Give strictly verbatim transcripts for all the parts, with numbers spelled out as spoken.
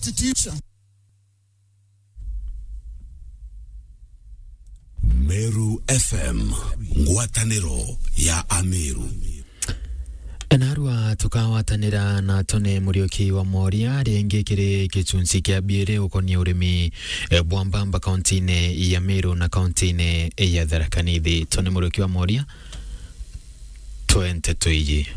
Constitution. Meru F M, ngwataniro ya Ameru. Narua tukawatanira na Tony Muriuki wa Moria ringi kiri gicunci kia biiri ukonie urimi, eh, bwa mbamba kaunti-ini ya Meru na kaunti-ini ya Tharaka Nithi. Tony Muriuki wa Moria, twe nteto iji.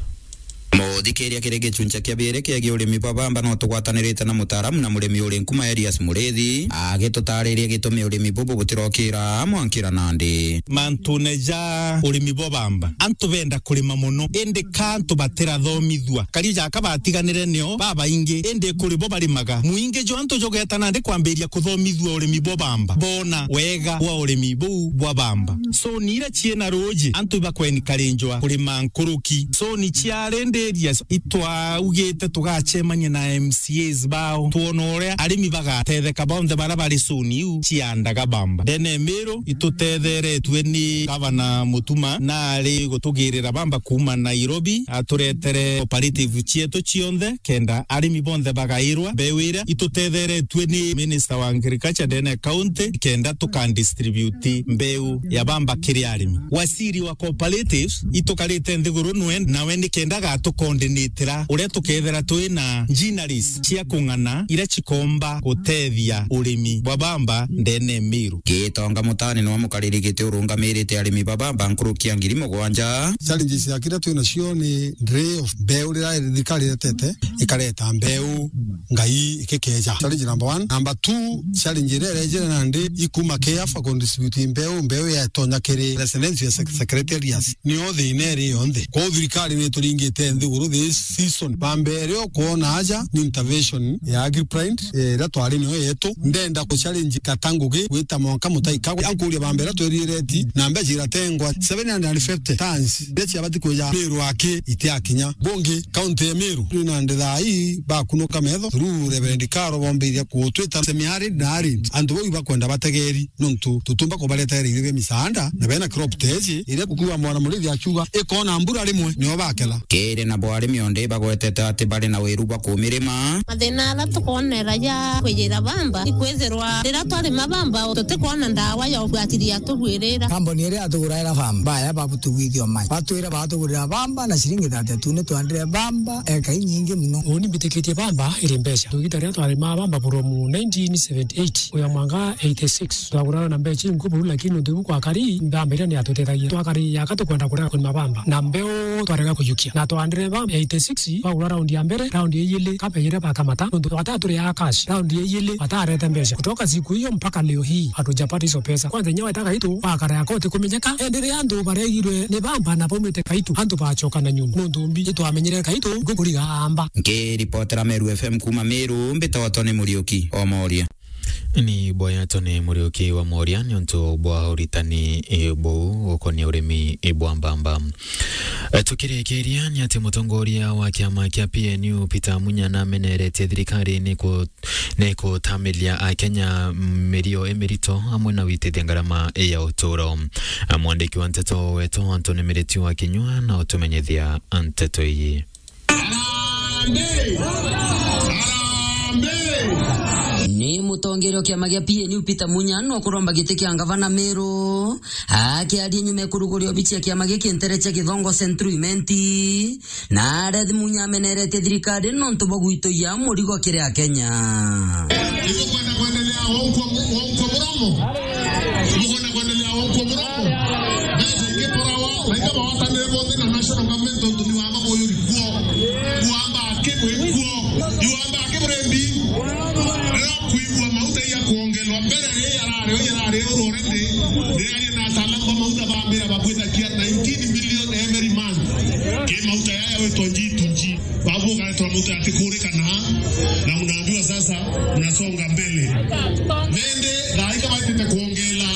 Muthikiria, kiri gicunci kia biiri kiegie urimi bwa bamba, no tugwatanirite na mutaaramu na murimi uri Nkuma, Elias Murithi, agitutariria gitumi urimi bubu butirokira mwankira nandi. Mantune ja urimi bwa bamba, antu benda kurima mono, indi ka antu batirathomithua. Kari jaka batiganire nio babaingi, indi kuri bo barimaga. Mwingi jwa antu jugeta nandi kwambiria kuthomithua urimi bwa bamba, bona wega bwa urimi buu bwa bamba. Soni iria ciina ruuji, antu ibakwenikarinjwa kurima nkuruki. Soni cia rindi areas, itwaugite tugacemania na M C As bao, twone uria arimi bagatetheka bonthe baria bari soni iu ciandaga bamba. Ndene Miru itutetheretue ni Gavana Mutuma, na ari gutugirira bamba kuuma Nairobi, aturetere cooperative cietu cionthe, kenda arimi bonthe bagairwa mbeu iria. Itutetheretue ni Minister wa Agriculture ndene county, kenda tuka distribute mbeu ya bamba kiri arimi. Waziri wa cooperatives, itukarite nthiguru nwe, nawe ni kenda agatucoordinatira uria tukethira twi na gineries cia kung'ana iria cikomba gutethia urimi bwa bamba ndene Miru. Gitonga Mutani niwe mukariri giti urungamirite arimi ba bamba nkuruki ya ngiri mugwanja. Challenges ya kiria twi nacio ni delay of mbeu, riria thirikari iretete ikareta mbeu ngai ikikeja. Challenge number one. Number two, challenge iria irejere nandi ikuma KEAFA kudistribute mbeu, mbeu yatonya kiri residential sec-, secretariats. Nio thina iri yonthe. Kwou thirikari ni ituringite nthiguru this season. Bamba iria ukwona aja ni intervention ya Agripride, eh, iria twari nio yetu. Ndenda kuchallenge Katangugi gwita mwanka Mutahi Kagwe. Ankuria bamba iria tweririe reti, na mbeca iratengwa seven hundred and fifty tons. Iria ciabati kuja Miru aki itiakinya. Bungi, kaunti ya Miru, twi nandi thaa ii bakunuka metho through Reverend Karo, bombeiria kutwita semi-arid na arid. Antu bau ibakwenda bategeri, nontu tutumba kubaretera irio bia misaanda, na bena crop teji iria kukiuga mwana murithi akiuga ikona mbura rimwe nio bakela. Kiri nabo arimi onde bagwetete ati bari na wiru bwa kumirima. Mathina aria tukwonera ja kwijira bamba ikwithirwa riria twarima bamba tutikwona ndawa ya ubwatiria tugwirira. Kambuni iria yatuguraira bamba, baya babutugwithio mai. Batwire batugurira bamba na ciringi thirty-two, ni twandire bamba eka inyingi muno. Uni mbitikitie bamba iri mbeca. Tugita riria twarima bamba from nineteen seventy-eight kuya mwaka eighty-six. Twagurana na mbeca inkuu buru, lakini nontu ibu kwakari, bamba iria ni yatutethagia. Twakari yaka tukwenda kurega kurima bamba. Na mbeu twarega kujukia. Na twandire bamba eighty-six, twagura round ya mbere, round ya ijiri, kabejire bakamata. Nontu bataturiaga cash, round ya ijiri, batarete mbeca. Kutoka siku hiyo mpaka leo hii, hatujapata hizo pesa. Kwanza, nyewe ta Kaitu, wakara ya koti kumenyeka, indi riria antu baregirwe ni bamba na baumite Kaitu, antu bacoka na nyuma. Nontu mbi, itwamenyire Kaitu, ngukuriga amba. Nkiripotera Meru F M kuuma Miru, mbitagwa Tony Muriuki o Moria. Ni boya Tony Muriuki wa Moria niuntu bwa uritani, eh, buu ukonia urimi, eh, bwa mbamba. Eh, tukirikiria ni ati mutongoria wa kiama kia P N U Peter Munya nameneretie thirikari ni ku-, ni kutamiria Akenya mirio imirito amwe na witithia ngarama ya uturo. Mwandiki wa nteto wetu Anthony Miriti wa Kinyua na utumenyithia nteto iji. Harambee! Harambee! Ni mutongeria wa kiama gia P N U Peter Munya no kuromba giti kia ngavana Meru, akiaria nyuma ya kuruguria obici ya kiama giki ntere cia Githongo Central Imenti, na arethi Munya ameneretie thirikari nontu bwa gwitoia murigo kiri Akenya. Ibukwenda kwendelea wa ukwo, wa ukwo muromo? Ibukwenda kwendelea wa ukwo muromo? Mbeca ingi porawa, na inga bawatanire bonthe na national government tontu ni wamba buyuri kuo. Iwamba aki bwi kuo. Iwamba aki buri mbi. Riria kwigua mauta ya kuongelwa mbere, riria yarari, yarari uru already. Riria ari na ataalamu ba mauta bambira babwithagia nineteen million every month. Ki mauta yaya witwa G to G. Babu ugaletwa mauta yatikurikana, na unaambiwa sasa unasonga mbele. Nende, thaa ika baitite kuongela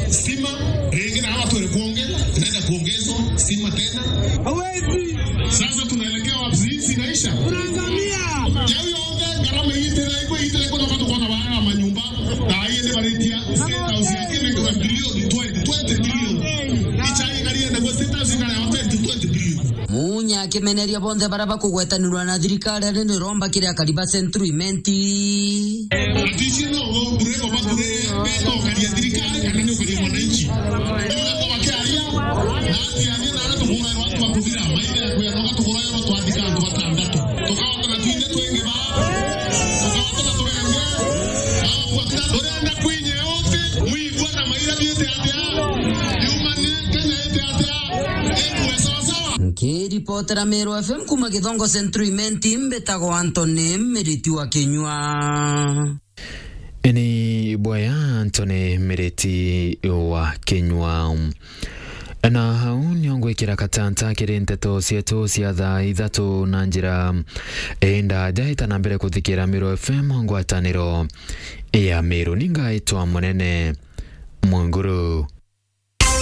stima, ringi na hawa twere kuongela, inaenda kuongezwa stima tena. Hawezi. Sasa tunaelekea wapi? Hizi zinaisha. Tunaangamia. Yau yonthe, ngarama iitire, iko iitire, kuna watu kwa na manyumba. Thaa hii ndio baritia State House ya Kenya kwa bilioni twenty, twenty billion. Ichai ngari ende kwa State House ngari ya twenty, twenty billion. Munya Kimeneria bonthe baria bakugwetanirwa na thirikari ari niromba kiri akari ba Central Imenti. Atici no uthundure, ubathurire, betokaria thirikari kana ni ukaria mwananchi. Ugakorwa kiaria, na atiaria na ara tugurairwa antu bakuthira, maire ya kwira, tugatugurairwa twathika antu batandatu. Tukahotana twingi twingi ba, tukahotana turenge, bagukua kira turenda kwinye uti, mwigua na maira biite atia, yumane Kenya ite atia, ikue sawasawa. Nkiripotera Meru F M kuma Githongo Central Imenti, mbitagwa Anthony Miriti wa Kinyua. Ini bwaya Anthony Miriti wa Kinyua. Na hau nio ngwikira katanta kiri nteto cietu cia thaa ithatu na njira indaja ita na mbere kuthikira Meru F M ngwataniro ya Meru. Ningaitwa Munene Mwanguru.